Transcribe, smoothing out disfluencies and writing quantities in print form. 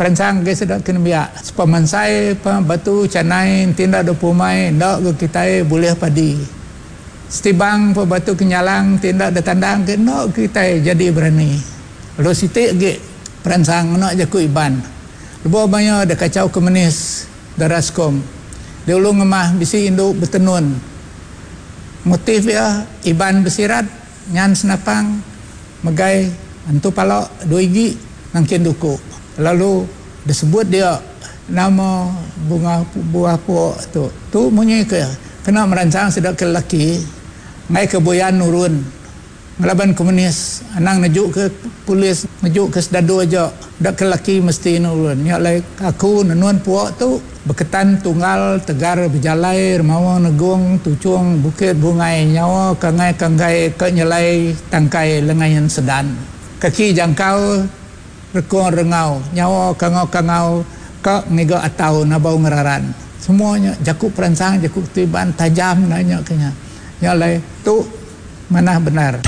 Peransang agi sida ke nembiak. Sepemansai pa batu chanai enti enda dau pumai enda ga kitai bulih padi. Setibang pa batu kenyalang enti enda da tandang ke enda ga kitai jadi berani. Lalu siti agi peransang ngena jaku Iban. Lebuh maya da kachau komunis da Rascom di Ulu Ngemah bisi indu betenun. Motif iya Iban besirat nyan senapang megai entu pala dua igi nangkin duku lalu disebut dia nama bunga buah pua tu. Tu munyi ke kena meransang sida ke lelaki enggai ke buyan nurun. Ngelaban komunis anang neju ke polis neju ke sedadu aja enda ke laki mesti nurun nya alai aku nenun pua tu beketan tunggal tegar bejalai remaung negung tuchung bukit bungai nyawa kangai kanggai ka nyelai tangkai lengain sedan kaki jangkau rekung rengau nyawa kangau kangau ka ngiga atau nabau ngeraran semua nya jaku peransang jaku ti iban tajam enda nya ke nya nya alai tu. Manah bendar.